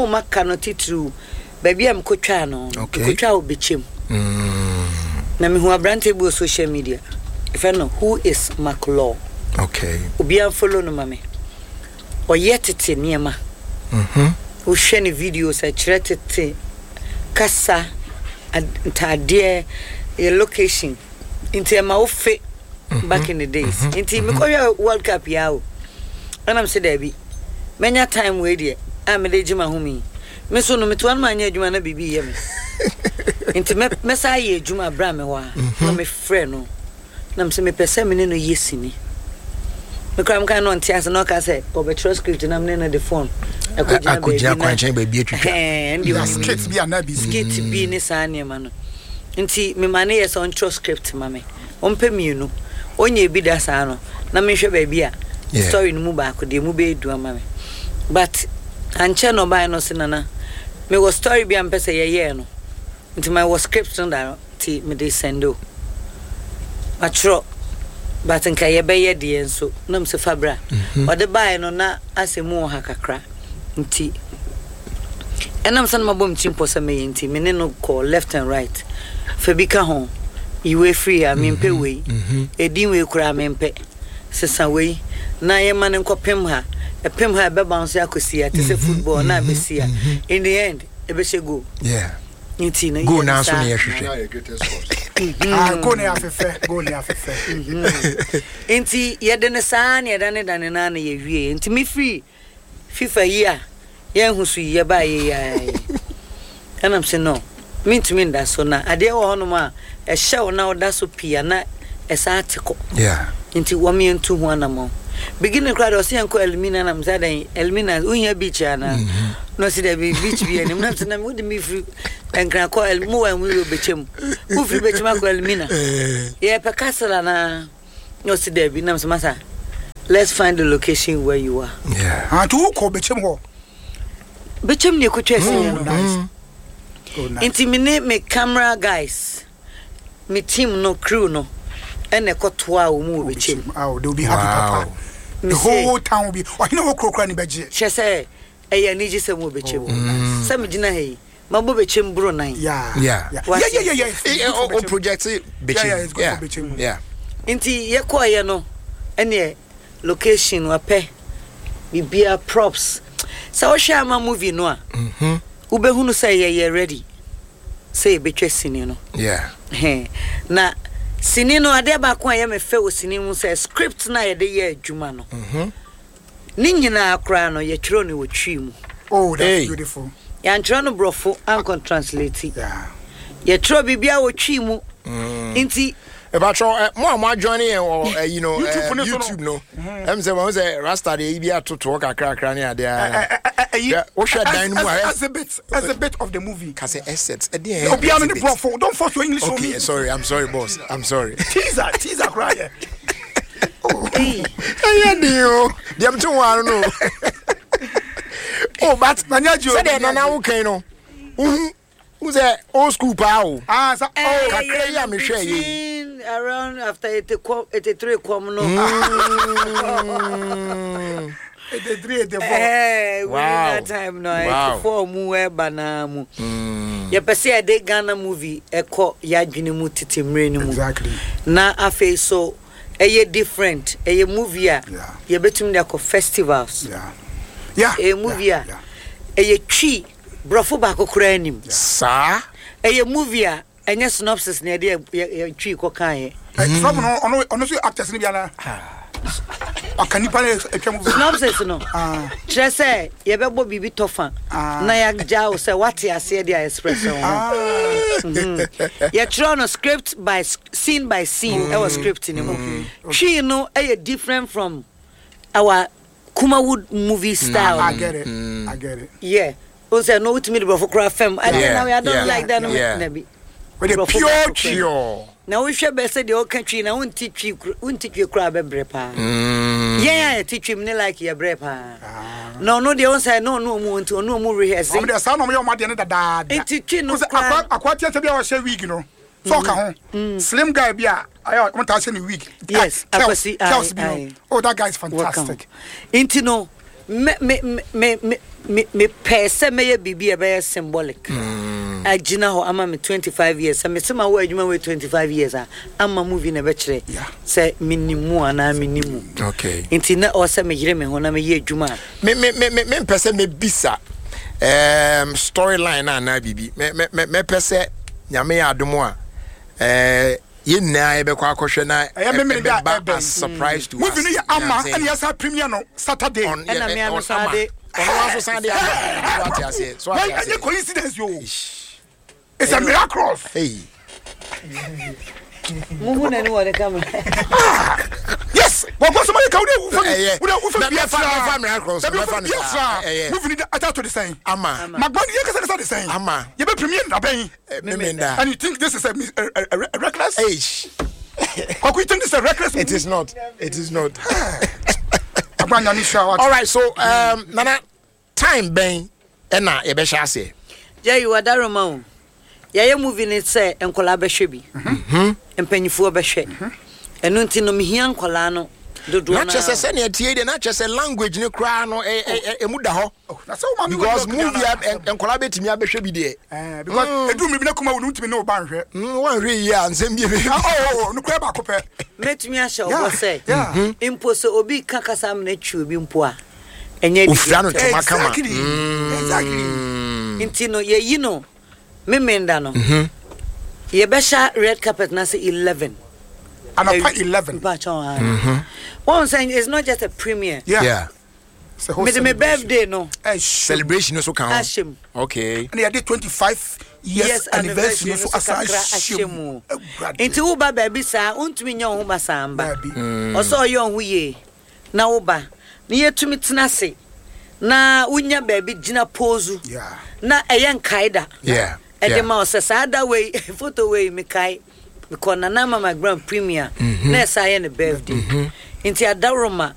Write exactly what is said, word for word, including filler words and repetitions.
Ɔmo ma ka no titiriw baabi a mekɔtwaa no no, Okay. mekɔtwaa wɔ Bɛkyɛm na mehu aberante bi wɔ social media, ɛfɛ no Who Is Maclaw. Okay obiara follow no ma me. Ɔyɛ tete nneɛma. Mhm. Wohwɛ ne videos, ɛkyerɛ tete kasa, ad- ntaadeɛ, yɛ location, nti ɛma wo fe back in the days. Nti mekɔhwɛ World Cup yi a o, ɛnam sɛ daabi, mɛnya time wei deɛ a mede gye m'ahome yi, me so no metoa no maanyɛ adwuma na biribi yɛ me, nti mɛ- mɛsa ayɛ adwuma berɛ a mewɔ a na mefrɛ no na mesɛ mepɛ sɛ me ne no yɛ sini. Mekora meka na ɔnte ase na ɔka sɛ ɔbɛtwerɛ script na mene no de phone ɛkɔgyina akɔgyina baabi na kwankyɛn baabi atwitwa. Ɛhɛn, ɛnde Yeah, ɔnim. skit bi anaa bi. Skit bi ne saa nneɛma no, nti mema ne yɛ sɛ ɔntwerɛ script ma me, ɔmpɛ mmienu, ɔnyɛ bi da saa no na mehwɛ baabi a Yeah. story no mu baako deɛ mu bɛyɛ du ama me. But ankyɛ na ɔbaeɛ no, ɔse, "Nana, mewɔ story bi a mpɛ sɛ yɛyɛɛ no, nti mewɔ script no da no, nti mede send o, matwerɛ, but nka yɛbɛyɛ deɛ nso." Na mesɛ, "Fa bra." Ɔde baeɛ no na asɛ mu wɔ ha kakra, nti ɛnam sɛ no mabɔ me tirim pɔ sɛ mɛyɛ, nti me ne no kɔ left and right, fa bi ka ho, yi wei firi ha, mempɛ wei, ɛdin wei koraa mempɛ, sesa wei na yɛma no nkɔpem ha, ɛpem ha, ɛbɛba nso akɔsi ha te sɛ football na abɛsi ha, in the end ɛbɛhyɛ goal. Yeah nti no goal yɛ naa nso saa. ne yɛhwehwɛ. Yɛ greatest sport. Ah, goal ne afɛfɛ, goal ne afɛfɛ. Nti yɛde ne saa ne yɛdane dane naa na yɛwie. Nti mefiri FIFA yi a yɛnhu so yi, yɛbaa yɛyɛ ɛnam sɛ no mentumi nda so na adeɛ wɔ hɔnom a ɛhyɛ wo na woda so pii a na ɛsaa te kɔ. Yeah nti wɔn yɛntu ho anammɔn. Beginning koraa deɛ, ɔsɛ yɛnkɔ Elmina nam sɛ adɛn, Elmina wohia beach anaa? Na ɔsɛ dɛbi, beach bi anim. Nam sɛ nam wode me firi Nkran kɔ El mu wa mu wɔ Bɛkyɛm, wofiri Bɛkyɛm akɔ Elmina, yɛpɛ castle anaa? Na ɔsɛ dɛbi. Nam sɛ, "Masa, let's find the location where you are." Yeah ah, nti wokɔ Bɛkyɛm hɔ? Bɛkyɛm ne ɛkɔtwa asinya Oh, no. nice. Oh, nice. Nti me ne me camera guys, me team no, crew no, ɛna ɛkɔtoa wɔ mu wɔ Bɛkyɛm. Oh, they will be happy. Wow. Papa, the Me say- whole town will be, ɔhene wɔ kuro kura ni bɛgye. Kyerɛ sɛ ɛyɛ anigye sɛ mu wɔ Bɛkyɛm sɛ megyina ha yi, mabɔ Bɛkyɛm boro nan. Yeah. Yeah. Yeah. What? Yeah, yeah, yeah, yeah. It's Eh, eh, good for o o Bɛkyɛm. project Bɛkyɛm. Yeah, yeah, it's good yeah for Bɛkyɛm. Yeah nti yɛkɔɔyɛ no, ɛneɛ location wapɛ biribia, props, sɛ wohwɛ ama movie no a, wobɛhunu sɛ yɛyɛ ready sɛ yɛbɛtwa sini no. Yeah Hɛn. Na sini no, adeɛ baako a ɛyɛ me fɛ wɔ sini mu sɛ script no a yɛde yɛ adwuma no ne nyinaa koraa no, yɛtwerɛ no wɔ Twi mu. Oh, that's Hey. beautiful. Yɛantwerɛ no Borɔfo ankɔ translate. Yeah. Yɛtwerɛ biribiaa wɔ Twi mu, nti ɛbatwɛ ɛ mo a mo ajoin yɛn wɔ ɛ you know YouTube ɛ no so no. YouTube no, ɛm sɛ wɔn sɛ rasta de eyi bi atotoɔ kakrakra ne adeɛ a Eh, Yeah, wohwɛ dan no mu a, eh? Exhibit, exhibit of the movie. Kase assets ɛdeɛ. Obiara no ne Borɔfo. Don't force your English on Okay. me. Sorry, I'm sorry, boss, I'm sorry. Teaser, teaser koraa yɛ. Ɛyɛ den o, deɛ mte ho ano no o, but Nani agye o, sɛdeɛ nani nana agye. wo kan no, wohu wohu sɛ old school paa o. Ah, sa, oh, kakra yi a mehwɛ yɛ yi. Between around after eighty kɔm, eighty-three kɔm no. Mm. eighty-three, eighty-four. Eh, Wow. within that time no, Wow. eighty-four mu ɛba naa mu, yɛpɛ sɛ yɛde Ghana movie ɛkɔ yɛadwene mu tete mmerɛ no mu. Exactly. Na afei so ɛyɛ different, ɛyɛ movie a Yeah. yɛbɛtumi de akɔ festivals. Yeah. Yeah. Ɛyɛ movie yeah, a yeah. ɛyɛ Twi Borɔfo baako koraa anim. Saa. Ɛyɛ movie a ɛnyɛ synopsis na yɛde yɛ- yɛ yɛ Twi kɔkaeɛ. Eh, Trump no, ɔno ɔno nso yɛ actors no bi ana? Ɔka nipa no atwa movie. Synopsis no Ah. kyerɛ sɛ yɛbɛbɔ biribi tɔfa Ah. na yɛagya wo sɛ woate aseɛ de a express wo ho. Ah. Yɛtwerɛ no script by s- scene by scene ɛwɔ script no mu. Twi no ɛyɛ different from our Kumawood movie style. I get it. I get it. Yeah, o sɛ no wotumi de Borɔfo koraa fam I Yeah, now I don't yeah, like that no. yeah. Nabi. With the Borɔfo pure baako koraa. Pure. Na wohwɛ bɛ sɛ deɛ ɔka Twi na wonte Twi kor- wonte Twi koraa bɛbrɛ paa. Yɛn a yɛte Twi mu ne like yɛbrɛ paa na ɔno deɛ wo sɛ na ɔno ɔmu nti ɔno ɔmu rehearse. Ɔmo deɛ, saa na ɔmo yɛ ɔmo adeɛ no dadaada. Nti Twi no Wo sɛ koraa- akwa akwa tiɛ sɛ bi a ɔhyɛ wig no so ɔka ho, slim guy bi a ayɛ ɔmo taa hyɛ ne wig. Yes, Ah, Kels Akwasi, aye, Kels bi no. aye. Oh, that guy is Wɔka ho. fantastic. Nti no Me me me me me mepɛɛ sɛ mɛyɛ biribi a ɛbɛyɛ symbolic agyina hɔ ama me twenty-five years. Sɛ mese ma wɔ adwuma wɔ twenty-five years a, ama movie na ɛbɛkyerɛ Yeah. sɛ menim mu anaa menim mu. Okay nti na ɔwɔ sɛ meyere me ho na meyɛ adwuma a me me me me mempɛ sɛ mebisa um, storyline na anaa biribi. Me me me mɛpɛ sɛ Nyame yɛ adom a, ɛɛ yɛn nyinaa yɛbɛkɔ akɔhwɛ na Ɛyɛ Memene da ɛbɛba ɛbɛn. as surprise to us. Movie no yɛ ama ɛna yɛsa premiere no Saturday. On Ɛna yɛ- me ano on saa ama de- ɔno nso san de ama so, ate aseɛ so, ate Well, ɛnyɛ aseɛ. coincidence yo, it's a miraculous. Hey. Muhu n'ani wɔ ne camera. Yes, wɔkɔ sɔmɔ yɛ ka wode wufa Ɛyɛ. wode wufa Na- bi mɛfa- asra mɛfa miraculous, dabi mɛfa wufa no bi saa. asra. Ɛyɛ. Movie ni ata to de sɛn? Ama. Magbani yɛ kasa kasa de sɛn? Ama. Yɛbɛ premiere dabɛn? Memenda. And you think this is a, a, a, a, a reckless? Hey. Kwaku, you think this is a reckless? It is not, it is not. Agbanya ni sure. All right, so um, Nana, time bɛn ɛna yɛbɛhyɛ aseɛ? Jerry Wadaroma o, yɛyɛ movie ne sɛ nkɔlaa bɛhwɛ bi, mpanyinfoɔ bɛhwɛ. Ɛno nti no mehia nkɔlaa no dodoɔ. Na kyerɛ sɛ sɛnea tie deɛ, na kyerɛ sɛ language ne koraa no ɛ- ɛ- ɛ- ɛmu da hɔ. Na sɛ wo maame because wɔ movie a ɛ- nkɔlaa bɛtumi abɛhwɛ bi deɛ. Eh, because edu mi bi na kuma wo no ntumi ne wo ba nhwɛ. Mm, wanhwɛ yie a, nsɛm bi bɛ Ah, oh oh nukura baako pɛ. Mɛtumi ahyɛ Yeah, ɔbɔ sɛ yeah. mpo sɛ obi ka kasa amena twi obi mpo a, ɛnyɛ Ofira no didi. ntoma kama. exactly exactly Nti no yɛyi no Memenda no, yɛbɛhyɛ red carpet na sɛ eleven. Anapa eleven. Mpakyɛw, wɔn sɛ it's not just a premiere. Yeah. Yeah. It's a whole Mede me celebration. birthday no Eh, sure. Celebration no so ka ho. ahyɛ mu. Okay. Ɛna yɛde twenty-five years anniversary no so asan kakra ahyɛ ahyɛ mu. mu. Awurade. Nti woba baabi saa, wontumi nyɛ wo ho basaa mba. Baabi. Ɔsɛ ɔyɛ wo ho yie na woba na yɛtumi tena ase na wonya baabi gyina pose Yeah. na ɛyɛ nkae da Yeah. ɛde yeah. ma wo sɛ saa da wei, photo wei mekae mekɔ Nana Ama McBrown premiere na ɛsa yɛ ne birthday. Nti adaworoma.